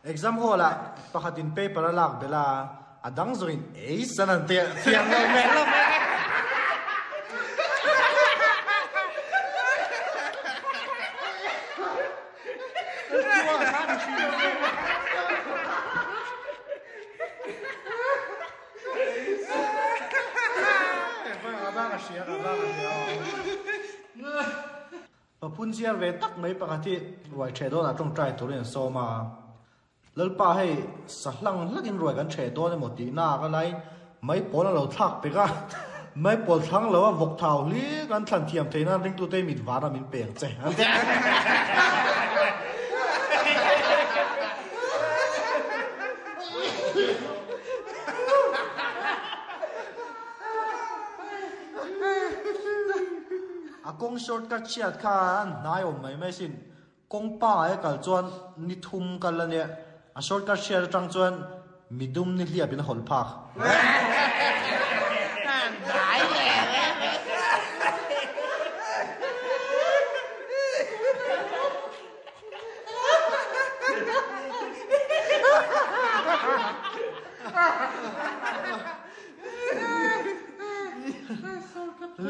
Exam hall ah pakhatin paper a lak belh a, a dang zawngin ei san an ti thiam lo hmel lo mai. Paphun chiar ve tak mai pakhat hi ruai ṭheh dawnah ṭawngṭai turin an sawm a. Lalpa hei sa hlang hlakin ruai kan ṭheh dawn emaw tih nak a laiin maipawl a lo thlak pek a. Maipawl thlang lo a vawk thau hlir kan thlan thiam theih nan ringtute mit vara min peng che an ti. A kawng shortcut chhiat kha an hnai awm mai mai sin. Kawng pangai a kal chuan ni thum kal a nia. A shortcut chhiat atang chuan midum ni hliap in a hawlh phak.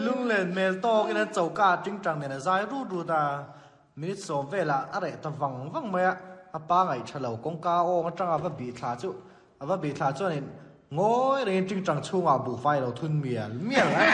Lunglen hmel tawkin an choka ah tingtang nen a zai rut rut a, minute sawm velah a reh ta vang vang mai a, a pa ngaihṭha lo kawngka awng aṭanga a va bih thla chu a va bih thla chuanin ngawi rengin tingtang chhungah buhfai a lo thun mial mial a.